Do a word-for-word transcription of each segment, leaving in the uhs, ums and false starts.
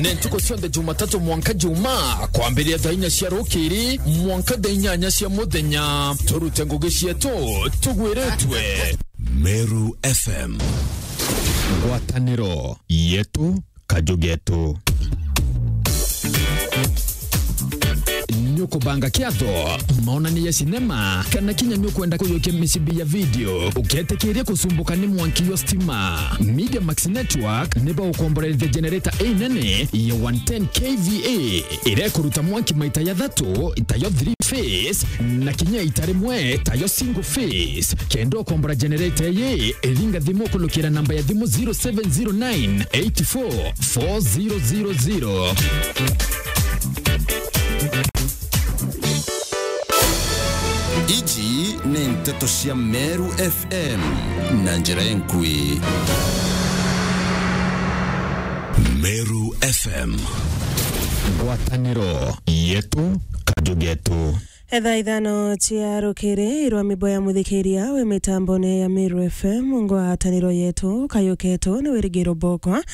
Ni ntuku cionthe Jumatatu mwanka Juma, kwambiria thaa inya cia rukiri mwanka thaa inyanya cia muthenya. Turute ngugi cietu tugwiritwe. Meru F M. Ngwataniro yetu, kaju getu. Ni ukubanga kiatho, maonania ya sinema, kana kinya ni ukwenda kuyukia micibi ya video, uketikiria kusumbuka ni mwanki yo stima? Media Max Network ni baukomborerithia generator inene ya one ten K V A, iria ikuruta mwanki maita jathatu, tayo three phase, na kinya ita rimwe, tayo single phase. Kenda ukombora generator iyi, ringa thimu kulukira namba ya thimu zero seven zero nine eight four four zero zero zero. Iji ni nteto cia Meru F M na njira enkui. Meru F M. Ngwataniro yetu, kaju getu. Thaa ithano cia rukiri, irwa mibo ya muthikiria wi mitambone ya Meru F M, ngwataniro yetu, kayu ketu ni wirigiro bokwa.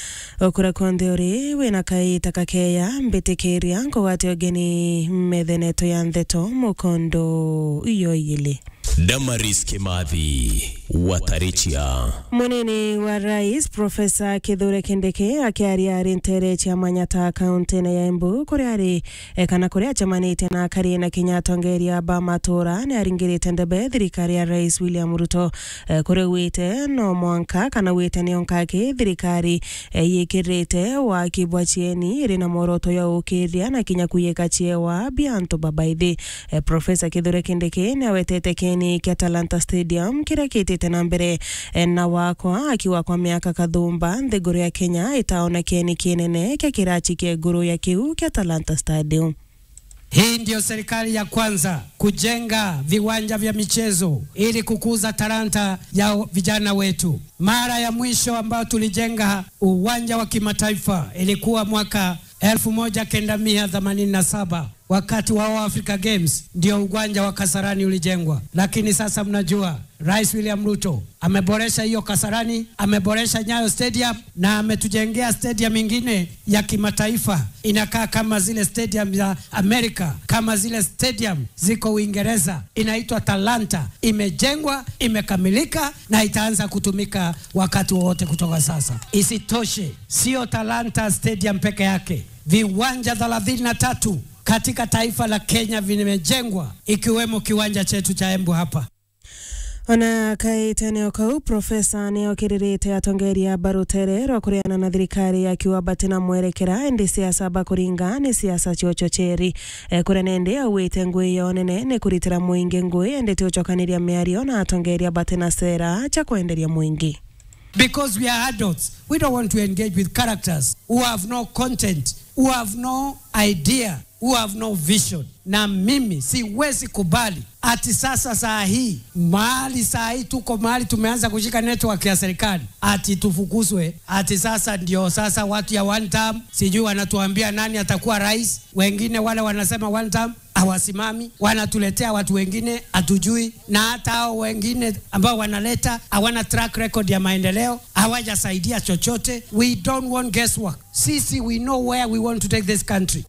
Ukura kwonthe uri, wina kaita kakeya, mbitikiria nkugwate ugeni methene yetu ya ntheto mukondo iyo iyili. Damaris Kimathi, Watarichia. Munini wa Rais, Profesa Kithure Kindiki, akiaria ari ntere cia Manyata, kaunti-ini ya Embu, kuria ari, e, kana kuria acemanitie na akari na kinya atongeria ba matura, ni aringirite ndebe thirikari ya Rais William Ruto, e, kuria augite no mwanka kana augite nio nkaki thirikari, e, yikirite waki bwa cieni iri na mworoto ya ukiria na kinya kuyika ciewa bia antu babaithi. E, Profesa Kithure Kindiki ni awetete kieni kia Talanta Stadium kiria kitite na mbere, e, na wakwa, akiuga kwa miaka kathumba, nthiguru ya Kenya itaona kieni kinene kia kirachi kia iguru ya kiu kia Talanta Stadium. Hii ndio serikali ya kwanza kujenga viwanja vya michezo ili kukuza talanta ya vijana wetu. Mara ya mwisho ambayo tulijenga uwanja wa kimataifa ilikuwa mwaka elfu moja kenda mia themanini na saba, wakati wa All Africa Games, ndio uwanja wa Kasarani ulijengwa. Lakini sasa mnajua, Rais William Ruto ameboresha hiyo Kasarani, ameboresha Nyayo Stadium na ametujengea stadium ingine ya kimataifa. Inakaa kama zile stadium za Amerika, kama zile stadium ziko Uingereza. Inaitwa Talanta. Imejengwa, imekamilika na itaanza kutumika wakati wowote kutoka sasa. Isitoshe, sio Talanta Stadium peke yake. Viwanja thelathini na tatu katika taifa la Kenya vimejengwa, ikiwemo kiwanja chetu cha Embu hapa. Ona kaitene o kau, Profesa ni okiririte atongeria ba rutere rwa kuriana na thirikari, akiuga batina mwerekera, indi siasa bakuringa ni siasa cia uchocheri. E, kuria nende augite ngui yo nene ni kuritira muingi ngui, indi ti ucokaniria miario na atongeria batina sera cia kwenderia muingi. Because we are adults, we don't want to engage with characters who have no content, who have no idea, who have no vision. Na mimi siwezi kubali ati sasa saa hii, mahali saa hii tuko mahali tumeanza kushika network ya serikali, ati tufukuzwe, ati sasa ndio sasa watu ya one term, sijui wanatuambia nani atakuwa rais, wengine wale wanasema one term, hawasimami, wanatuletea watu wengine hatujui, na hata hao wengine ambao wanaleta hawana track record ya maendeleo, hawajasaidia chochote. We don't want guesswork. Sisi, we know where we want to take this country.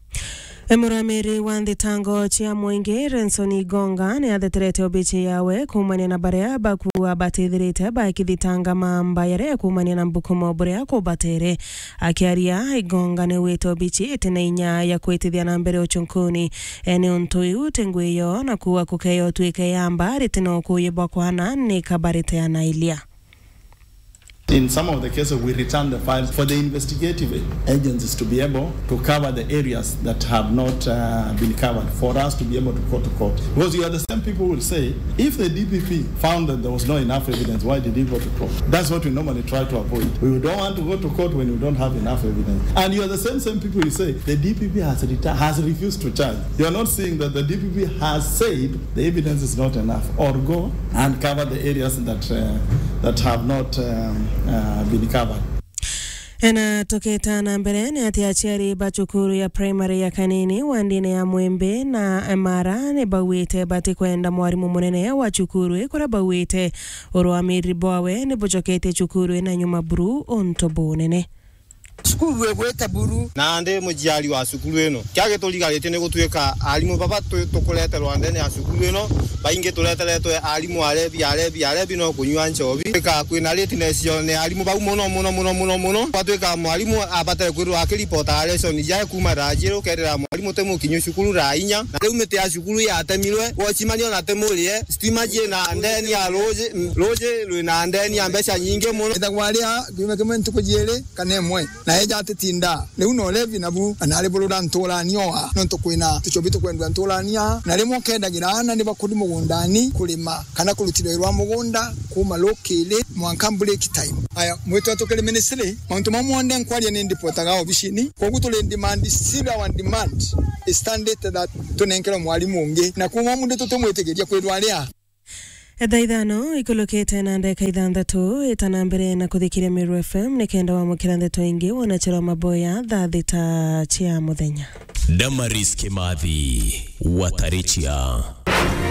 E, muramiri wa nthitango cia muingi Renson Igonga ni atheterete obici yawe kuumania na baria bakuuga batithirite bakithitanga mamba yaria kuumania na mbukumo buria kubatere. Akiaria, Igonga ni wite obici iti na inya ya kwitithia na mbere uchunkuni, e, ni untu iu ti ngui yo na kuuga kukeya utuike yamba riti na ukuuyi bwa kwana ni kabarite anailia. In some of the cases, we return the files for the investigative agencies to be able to cover the areas that have not, uh, been covered for us to be able to go to court. Because you are the same people who will say, if the D P P found that there was not enough evidence, why did he go to court? That's what we normally try to avoid. We don't want to go to court when we don't have enough evidence. And you are the same, same people who say the D P P has reta-, has refused to charge. You are not seeing that the D P P has said the evidence is not enough, or go and cover the areas that, uh, that have not, um, uh, been covered. Ena tukita na mbere ni ati aciari ba cukuru ya primary ya Kanini wandine ya Mwimbi na Emara ni bauite batikwenda mwarimu munene wa cukuru ii, kuria bauite urwamiriri bwawe ni bucoketie cukuru ina nyuma buru untu bunene. Cukuru igwite buru. Na ndi muciari wa cukuru ino. Kia giturigarite ni gutuika arimu baba tu-, tukureterwa ndene ya cukuru ino, baingi tureteretwe arimu arebi, arebi, arebi no kunyua nchobi. Tuika kwina lateness yo ni arimu bau muno, muno, muno, muno, muno. Gwatuika mwarimu abatare kwirwa akiripota lesson jae kuma thaa jiru, ukerira mwarimu ti mukinyu cukuru thaa inya. Na riu miti ya cukuru yatemirwe, wocimani ona ti murie, stima ciina ndeni ya ruji, ruji rwina ndeni ya mbeca nyingi muno. Ethagwa aria kiumia kimwe ntuku jiiri kana imwe, na eja atitinda. Riu no levi nabu, na nari burura nturania oa, nontu kwina tuchobi tukwendwa nturania, na rimwe ukendagira aana ni bakuri mugundani kurima, kana kurutira wira wa mugunda kuma rukiri mwanka break time. Aya, mwitwa tukiri ministry, mauntu mau monthe nkwaria ni ndipotaga obicini, koguo turi in demand, still our demand is standard that tunenkerwe mwarimu ungi, na kuma mundu tutimwitikiria kwirwa aria. Thaa ithano ikulukite na ndeka ithanthatu, ita na mbere na kuthikiria Meru F M nikenda wamukira ndeto ingi wonachirwa maboya thaa thita cia muthenya. Damaris Kimathi, Watarichia.